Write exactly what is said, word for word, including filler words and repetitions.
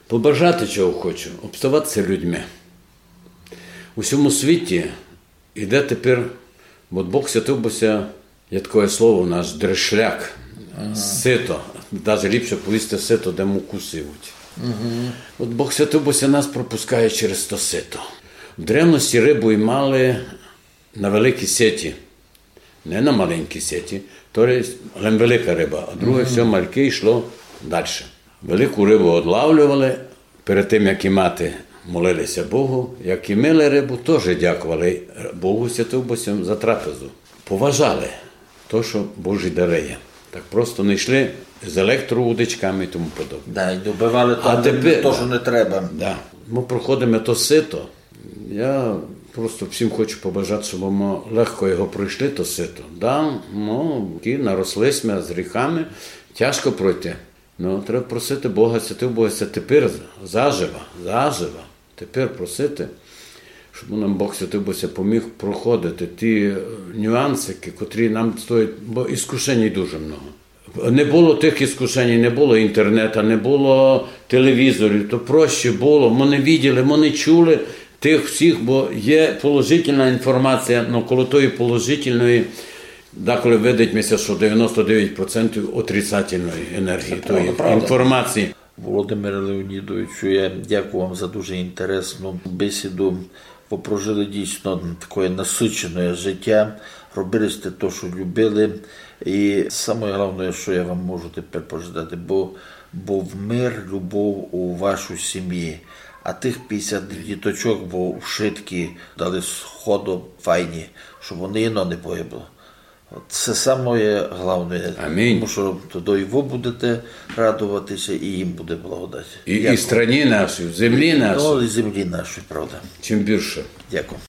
Побажати чого хочу, обставати ся людьми. У сьому світі іде тепер, от Бог святив бы ся, є такоє слово у нас, дрешляк, сито, даже ліпше повісти сито, де муку сивуть. От Бог святив бы ся, нас пропускає через то сито. В древности рыбу имали на великій сеті. Не на маленькій сеті, то є лем велика риба, а друге всьо мальке йшло дальше. Велику рыбу одлавлювали, перед тым, як имати, молили ся Богу, як имили рыбу, тоже дякували Богу святив бы ся за трапезу. Поважали то, што Божі дары є. Так просто не йшли з електроудочками і тому подобне. Да, і добывали то, А тепер- то, што не треба. Да. Мы проходиме то сито. Я просто всім хочу побажати, щоб мы легко його пройшли, то сито. Да, ну, і наросли сьме з гріхами, тяжко пройти. Ну, треба просити Бога, святив бы ся тепер заживо, заживо, тепер просити, щоб нам Бог святив бы ся поміг проходити ті е, нюансики, котрі нам стоять, бо іскушень дуже много. Не было тых іскушень, не было інтернета, не было телевізорів, то проще было. Мы не виділи, мы не чули тых всіх, бо є положительна інформація, но коло тої положительної деколи видить ми ся, што девяносто девять процентів отрицательної енергії, тої правда. Інформації. Володимире Леонідовичу, я дякую вам за дуже інтересну бесіду. Вы прожили дійсно таке насичене життя, робили сте то, што любили. І саме головне, што я вам можу тепер пожадати, бо був мир, любов у вашій сім'ї. А тых пятдесят діточок, бо вшыткі дали сходу файні, щоб вони єдно не погибло. От це саме головне. Амінь. Тому што тоді і вы будете радовати ся, і їм буде благодать. І, і Дякую. Страні нашій, в землі нашій, Ну, і землі нашій, правда. чим більше. Дякую.